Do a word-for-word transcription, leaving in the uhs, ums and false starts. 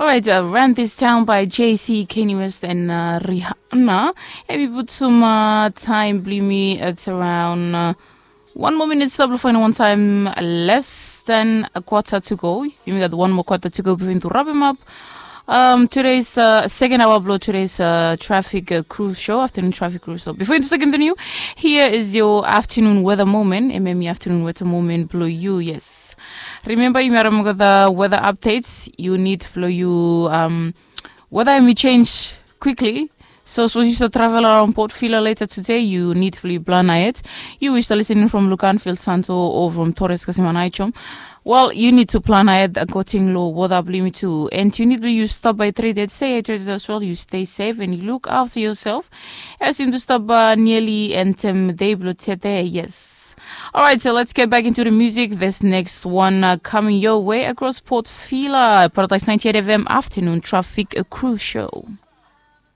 Alright, uh, Run This Town by Jay-Z, Kanye West and uh, Rihanna. Hemi putum uh, taem blong yumi, it's around uh, one more minute stop before any one time, less than a quarter to go. Yumi gat one more quarter to go before yumi to wrap him up. Um, today's uh, second hour blo today's uh, traffic uh, crew show, afternoon traffic crew show. Before you start continue, here is your afternoon weather moment. Hemi afternoon weather moment blo you, yes. Remember, yumi harim gat the weather updates. You need blo you um, weather hemi change quickly. So sapos yu stap travel around Port Vila later today, yu nid blong yu plan ahead. Yu we yu stap listening from Luganville, Santo, o from Torres kasem Aneityum. Well, you need to plan ahead according lo weather blong yumi tu. And you need blong yu stop by hydrated, stay hydrated as well. You stay safe and you look after yourself. As yumi tu stop uh, nearly and um, day blong today, yes. All right, so let's get back into the music. This next one uh, coming your way across Port Vila, Paradise ninety-eight F M afternoon traffic uh, crew show.